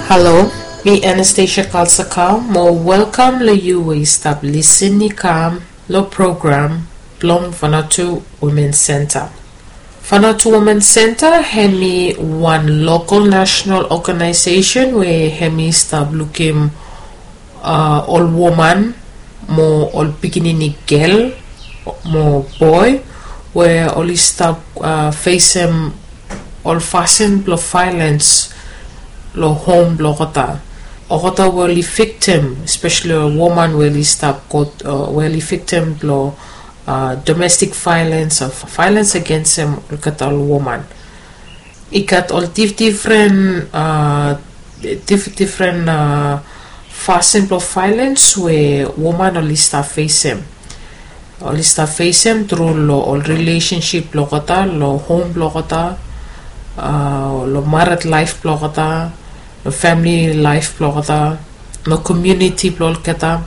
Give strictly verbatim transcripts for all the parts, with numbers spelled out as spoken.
Halo, mi Anastasia Kalsakau mo welkam long yu we yu stap lisin i kam long program blong Vanuatu Women Center. Vanuatu Women Center hemi wan lokal national organization we hemi stap lukim uh, ol woman mo ol pikinini gel mo boy we oli stap uh, fesem ol fasin blong violence long hom blong olgeta. Olgeta we oli victim, especially ol woman we oli stap go uh, we oli victim blong uh, domestic violence or violence against them olgeta ol woman. I gat ol dif different uh, dif different uh, fasin blong violence we woman oli stap fesem. Oli stap fesem tru long ol relationship blong olgeta, long hom blong olgeta, uh, long married life blong olgeta, long family life blong olgeta, long community blong olgeta.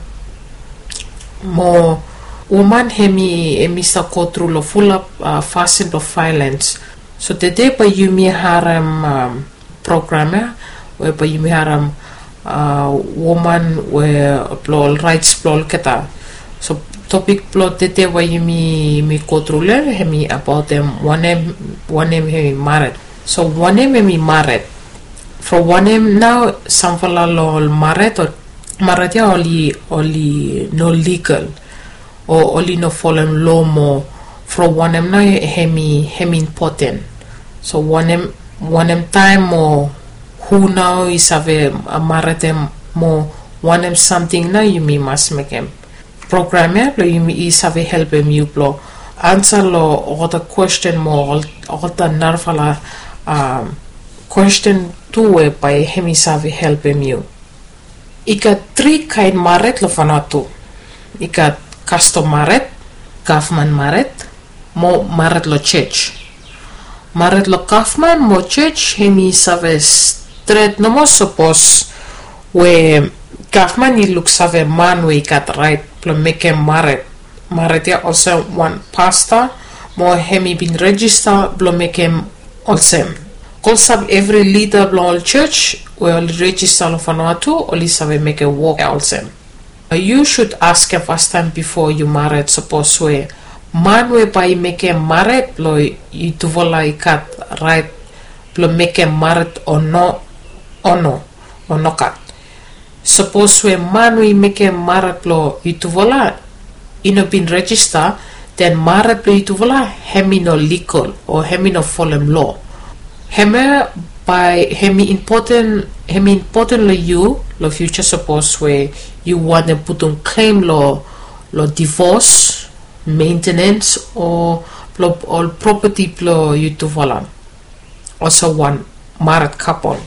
Mo woman hemi hemi stap go tru long fulap uh, fasin blong violence. So tede bae yumi harem um, program ya we bae yumi harem uh, woman we blong ol rights blong olgeta. So topik blong tede we yumi yumi go tru long hem hemi abaot hem wanem wanem hemi mared. So wanem hemi mared? From wanem nao samfala long ol mared o mared ya oli oli no legal o oli no folem lo mo from wanem nao hemi hemi impoten? So wanem wanem taem o hu nao i save maredem mo wanem samting nao yumi mas mekem? Program ya blong yumi i save helpem yu blong ansa long olgeta kwesten mo olgeta narafala um, kwesten tu we bae hemi save helpem yu. I gat tri kaen mared long Vanuatu. I gat kastom mared, gavman mared, mo mared long jos. Mared long gavman mo jos hemi save stret nomo sapos we gavman i luksave man we i gat raet blong mekem mared mared ya olsem wan pasta mo hemi bin rejista blong mekem olsem. Klosap evri lida blong ol jos we oli rejista long Vanuatu oli save mekem wok ya olsem. Yu sud askem fastaem bifo yu mared sapos we man we bae i mekem mared blong yutufala i gat raet blong mekem mared o no o no o nogat. Sapos we man we i mekem mared blong yutufala i no bin rejista, den mared blong yutufala hemi no ligal o hemi no folem lo. Hemia bae hemi impoten hemi impoten long yu long fiuja sapos we yu wantem putum klem long long divos, mentenens o blong ol propeti blong yutufala. Olsem wan mared kapol.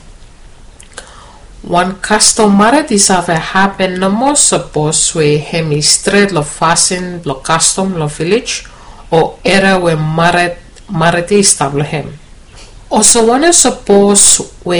Wan kastom mared i save hapen nomo sapos we hemi stret long fasin blong kastom long vilej o eria we mared mared i stap long hem. Olsem wanem sapos we